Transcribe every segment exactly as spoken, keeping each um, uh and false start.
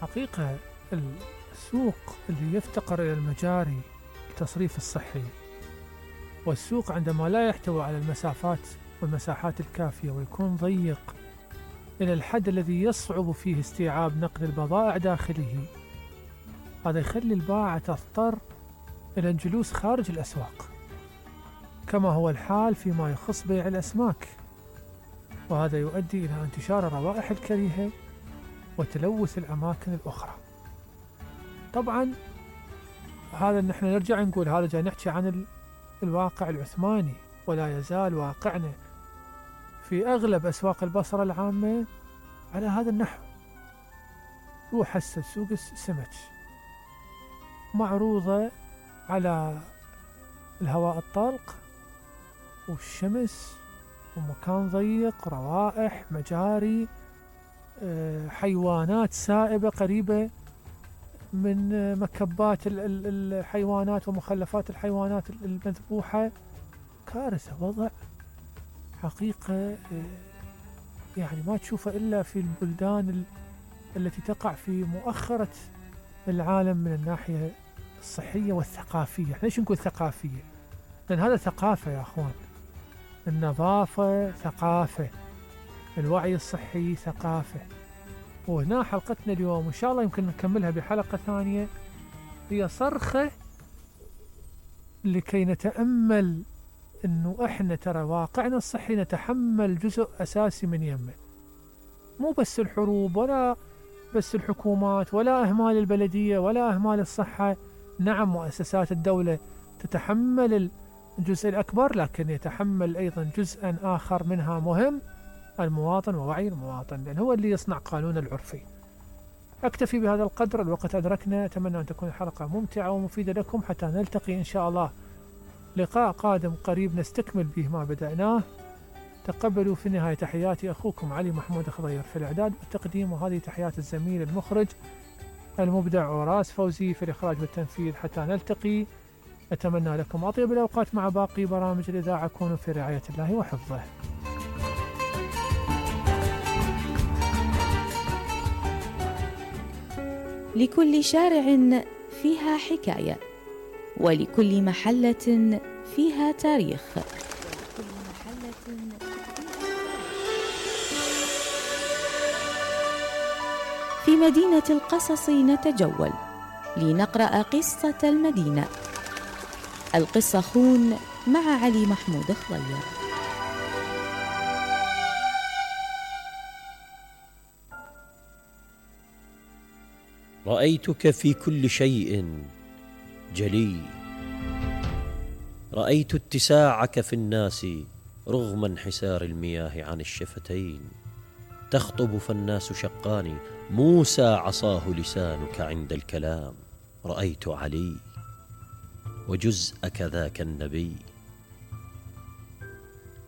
حقيقة السوق اللي يفتقر إلى المجاري التصريف الصحي، والسوق عندما لا يحتوي على المسافات والمساحات الكافية ويكون ضيق إلى الحد الذي يصعب فيه استيعاب نقل البضائع داخله، هذا يخلي الباعة تضطر إلى الجلوس خارج الأسواق، كما هو الحال فيما يخص بيع الأسماك، وهذا يؤدي إلى انتشار الروائح الكريهة وتلوث الأماكن الأخرى. طبعا هذا نحن نرجع نقول هذا جاي نحكي عن الواقع العثماني، ولا يزال واقعنا في أغلب أسواق البصرة العامة على هذا النحو. روح هسه سوق السمك معروضة على الهواء الطلق والشمس ومكان ضيق، روائح، مجاري، حيوانات سائبة قريبة من مكبات الحيوانات ومخلفات الحيوانات المذبوحة. كارثة، وضع حقيقة يعني ما تشوفه إلا في البلدان التي تقع في مؤخرة العالم من الناحية الصحية والثقافية. ليش نقول ثقافية؟ لأن هذا ثقافة يا أخوان، النظافة ثقافة، الوعي الصحي ثقافة. وهنا حلقتنا اليوم إن شاء الله يمكن نكملها بحلقة ثانية، هي صرخة لكي نتأمل إنه إحنا ترى واقعنا الصحي نتحمل جزء أساسي من يمه، مو بس الحروب ولا بس الحكومات ولا أهمال البلدية ولا أهمال الصحة. نعم مؤسسات الدولة تتحمل الجزء الأكبر، لكن يتحمل أيضا جزءا آخر منها مهم، المواطن ووعي المواطن، لأن هو اللي يصنع قانون العرفي. أكتفي بهذا القدر، الوقت أدركنا. أتمنى أن تكون الحلقة ممتعة ومفيدة لكم، حتى نلتقي إن شاء الله لقاء قادم قريب نستكمل به ما بدأناه. تقبلوا في النهاية تحياتي أخوكم علي محمود خضير في الإعداد والتقديم، وهذه تحيات الزميل المخرج المبدع وراس فوزي في الإخراج والتنفيذ. حتى نلتقي أتمنى لكم أطيب الأوقات مع باقي برامج الإذاعة. كونوا في رعاية الله وحفظه. لكل شارع فيها حكاية، ولكل محلة فيها تاريخ. في مدينة القصص نتجول لنقرأ قصة المدينة. القصة خون مع علي محمود خضير. رأيتك في كل شيء جلي، رأيت اتساعك في الناس رغم انحسار المياه عن الشفتين. تخطب فالناس شقان، موسى عصاه لسانك عند الكلام. رأيت علي وجزءك ذاك النبي.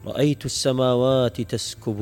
رأيت السماوات تسكب